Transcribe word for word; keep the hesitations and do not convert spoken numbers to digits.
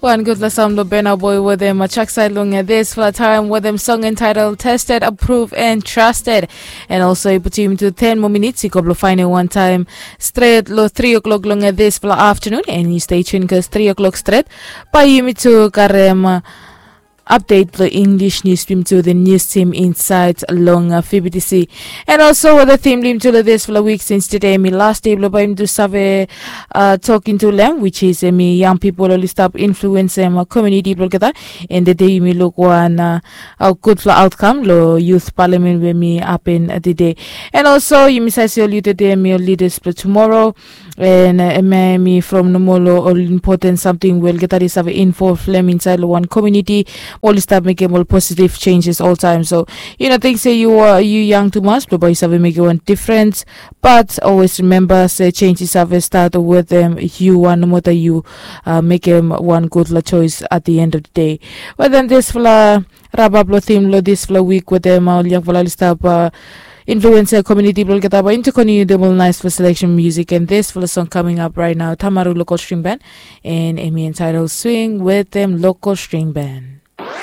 Wan gutpela song blong Burna Boy wetem Chuck Side long dispela taem wetem song entitled Tested, Approved and Trusted. And also i putim tu ten moa minits i go blong fainem wan taem stret long three o'clock long dispela afternoon, and i stay tuned cause three o'clock stret bae yumi tu karem update long English news team to the news team inside long uh, F B T C. And also with the theme lim to this for the week since today mi last day blong bae yumi tu save uh, talking to them, which is uh, mi young people oli stap influence um, community blong olgeta. And the day yumi look one uh, a good for outcome lo youth parliament where mi happen uh, the day. And also yumi sase oli today mi oli leaders for tomorrow. And uh, me mi from nomol ol important something we olgeta oli save involve lem inside lo one community, oli stap mekem ol positive changes all time. So you know, think say you are you young too much, but you save make one difference. But always remember say change is save start with them you one no matter you uh, make them one good la choice at the end of the day. Well then this fla wrap up lo theme lo this fla week with them uh, young fla stap uh, influencer community blong olgeta bae yumi tu continue dem ol nice for selection music and this for the song coming up right now, Tamaru Local String Band, and Emi entitled Swing with them Local String Band.